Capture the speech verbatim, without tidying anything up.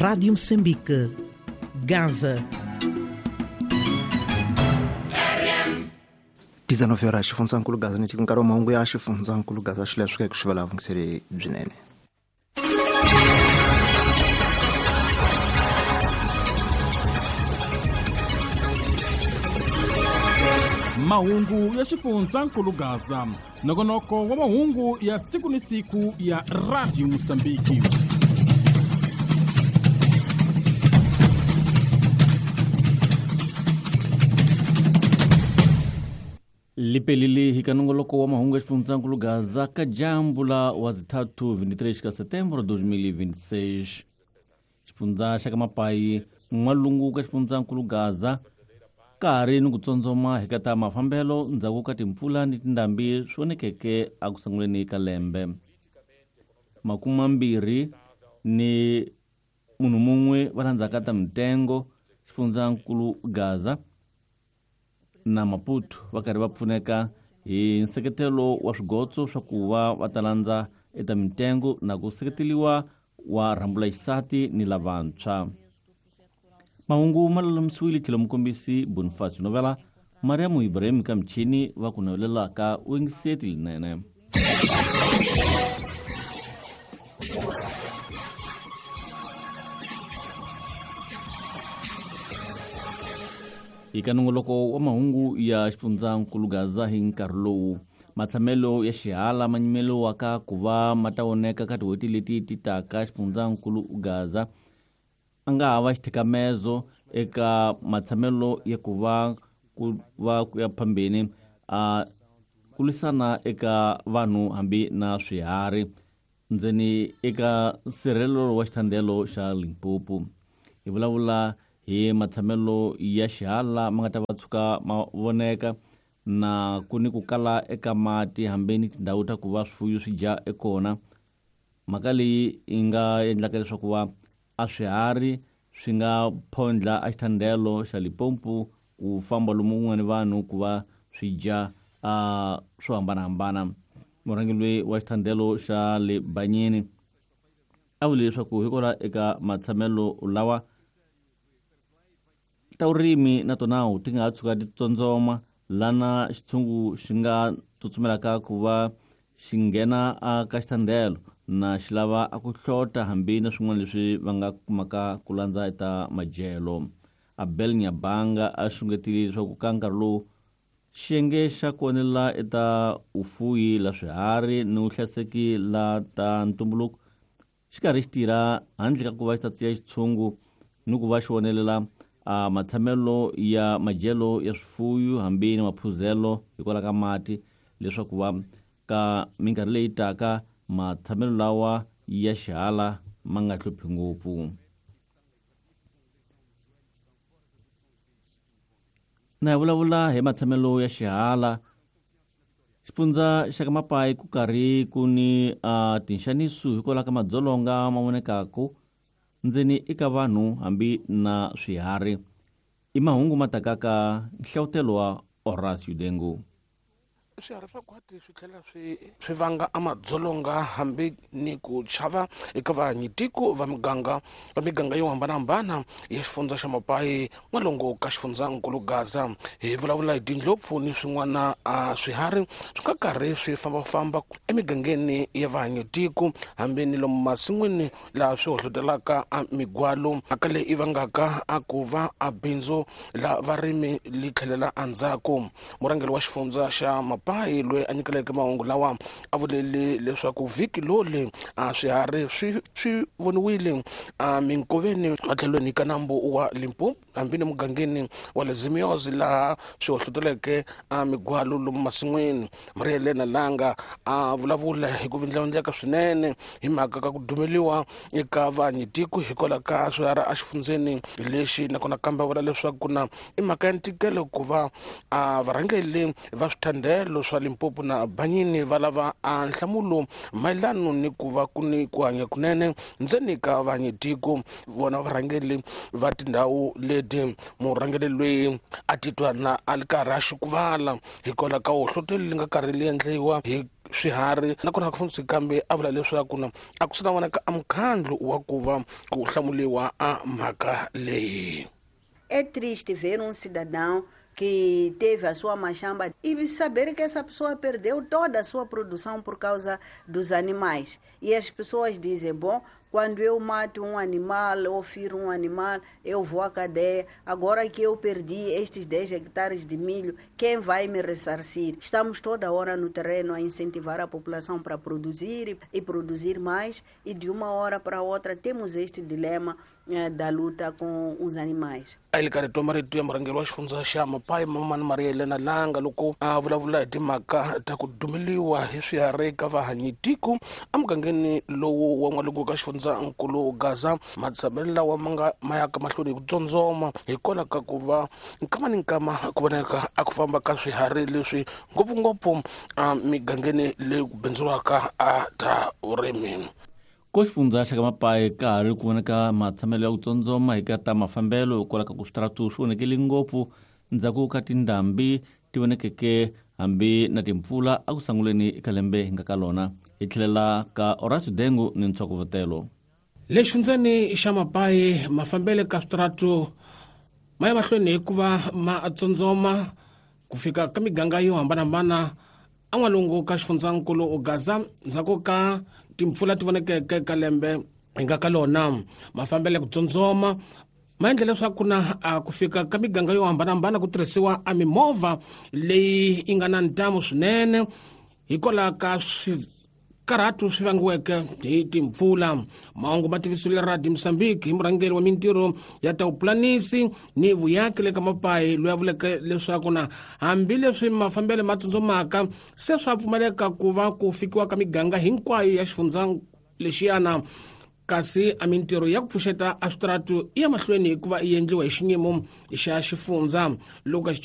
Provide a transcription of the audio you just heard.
Rádio Moçambique, Gaza. dezenove horas xifundzankulu Gaza ni nkarhi wa mahungu ya xifundzankulu Gaza xi leswi ku xivela vungiseri byinene. Mahungu ya xifundzankulu Gaza, nongonoko wa mahungu ya siku ni siku ya Radio Mozambique. Lipelile hi ka nongoloko wa mahungu ya xifundzankulu Gaza ka dyambu la wa zithathu vinte e três ka setembro dois mil e vinte e seis. Xifundza xa ka Mapai n'walungu ka xifundzankulu Gaza ka ha ri ni ku tsondzoma hi ka ta mafambelo ndzhaku ka timpfula ni tindhambi swi vonekeke eku sunguleni ka lembe. Makume mambirhi ni munhu mun'we va landzaka ta mitengo xifundzankulu Gaza na Maputo va karhi va pfuneka hi nseketelo wa swigotso swa ku va va ta landza eta mitengo na ku seketeliwa wa rhambula xisati ni lavantshwa. Mahungu ma lulamisiwile tlhelo mukombisi Bonifacio Novela, Mariamu Ibrahim ka michini va ku navelelaka wingiseti linene. Eka nongoloko wa mahungu ya xifundzankulu Gaza hi nkarhi lowu matshamelo ya xihala ma nyimeliwaka ku va ma ta voneka ka tin'hweti leti ti taka xifundzankulu Gaza a nga hava xithikamezo eka matshamelo ya ku va ku va ku ya phambeni a ku lwisana eka vanhu hambi na swiharhi ndzeni eka nsirhelelo wa xithandelo xa Limpopo. Hi vulavula hi matshamelo ya xihala ma nga ta va tshuka ma voneka na ku ni ku kala eka mati hambi ni tindhawu ta ku va swifuyo swi dya ekona. Mhaka leyi yi nga endlaka leswaku va a swiharhi swi nga phondla a xithandelo xa Limpopo ku famba lomu kun'wana vanhu ku va swi dya a swo hambanahambana. Murhangeri loyi wa xithandelo xa le Banyini a vule leswaku hikwalaho eka matshamelo lawa ta vurimi na tona ti nga ha tshuka ti tsondzoma lana xitshungu xi nga tsutsumelaka ku va xi nghena ka xithandelo na xi lava a ku hlota hambi na swin'wana leswi va nga kumaka ku landza eta madyelo. Abel Nyabanga a xungetile leswaku ka nkarhi lowu xiyenge xa ku onela eta vufuyi la swiharhi ni vuhlayiseki la ta ntumbuluko xi karhi xi tirha handle ka ku va xi ta tsiya xitshungu ni ku va xi onelela a matshamelo ya madyelo ya swifuyo hambi ni maphuzelo hikwalaho ka mati leswaku va ka minkarhi leyi taka matshamelo lawa ya xihala ma nga hluphi ngopfu. Na hi vulavula hi matshamelo ya xihala xifundza xa ka Mapai ku karhi ku ni uh, tinxaniso hikwalaho ka madzolonga ma vonekaku ndzeni eka vanhu hambi na swiharhi. I mahungu ma takaka nhlavutelo wa Horacio Dengo. Swiharhi swa khwati swi tlhela swi swi vanga a madzolonga hambi ni ku chava eka vahanyitiko va miganga va miganga yo hambanahambana ya xifundza xa Mapai n'walungu ka xifundzankulu Gaza. Hi vulavula hi tindlopfu ni swin'wana a swiharhi swi nga karhi swi fambafamba emigangeni ya vahanyitiko hambi ni lomu masin'wini laha swi hohlotelaka a migwalo mhaka leyi i vangaka a ku va a bindzu la varimi li tlhelela endzhaku. Murhangeri wa xifundza xa Mapai loyi a nyikeleke mahungu lawa a vulele leswaku vhiki loli a swiharhi swi swi voniwile a minkoveni matlhelweni ka nambu wa Limpopo hambi ni mugangeni wa le Zimiozi laha swi hohloteleke a migwalo lomu masin'wini. Maria Helena Langa a vulavula hi ku vindlavindleka swinene hi mhaka ka ku dumeliwa eka vahanyitiko hikwalaho ka swiharhi exifundzeni lexi nakona kambe a vula leswaku na i mhaka ya ntikelo ku va a varhangeri va swithandelo swa Limpopo na Banyini va lava a nhlamulo mayelano ni ku va ku ni ku hanya kunene ndzeni ka vahanyitiko vona varhangeri va tindhawu leti. Murhangeri loyi a titwa na a ri karhi a xukuvala hikwalaho ka hohlotelo leri nga karhi li endliwa hi swiharhi nakona Afonso Kambe a vula leswaku na a ku sina vonaka a mukhandlu wa ku va ku hlamuliwa a mhaka leyi. É triste ver um cidadão que teve a sua machamba e saber que essa pessoa perdeu toda a sua produção por causa dos animais. E as pessoas dizem, bom, quando eu mato um animal ou firo um animal, eu vou à cadeia. Agora que eu perdi estes dez hectares de milho, quem vai me ressarcir? Estamos toda hora no terreno a incentivar a população para produzir e produzir mais, e de uma hora para outra temos este dilema eh, da luta com os animais. A le karhi twa marito ya murhangeri wa xifundza xa Mapai Mamani Maria Helena Langa loko a vulavula hi timhaka ta ku dumeliwa hi swiharhi ka vahanyitiko emugangeni lowu wa n'walungu ka xifundzankulu Gaza. Matshamelo lawa ma nga ma yaka mahlweni hi ku tsondzoma hikwalaho ka ku va nkama ni nkama ku vonaka a ku famba ka swiharhi leswi ngopfungopfu emigangeni leyi ku bindzuriwaka a ta vurimi. Ko xifundza xa ka Mapai ka ha ri ku vonaka matshamelo ya ku tsondzoma hi ka ta mafambelo hikwalaho ka ku switaratu swi vonekele ngopfu ndzhaku ka tindhambi ti vonekeke hambi na timpfula a ku sunguleni eka lembe hi nga ka lona. Hi tlhelela ka Horacio Dengu ni ntshokovotelo. Le xifundzeni xa Mapai mafambelo ka switaratu ma ya mahlweni hikuva ma tsondzoma ku fika ka miganga yo hambanahambana en'walungu ka xifundzankulu Gaza ndzhaku ka timpfula ti vonekeke ka lembe hi nga ka lona. Mafambelo ya ku tsondzoma ma endla leswaku na ku fika ka miganga yo hambanahambana ku tirhisiwa a mimovha leyi yi nga na ntamu swinene hikwalaho ka swikarhatu swi vangiweke hi timpfula. Mahungu ma tivisiwile Radio Mozambique hi murhangeri wa mintirho ya ta vupulanisi ni vuyaki le ka Mapai loyi a vuleke leswaku na hambileswi mafambelo ma tsundzumaka se swa pfumaleka ku va ku fikiwa ka miganga hinkwayo ya xifundza lexiyana, kasi a mintirho ya ku pfuxeta a switaratu i ya mahlweni hikuva yi endliwa hi xinyimo xa xifundza. Loko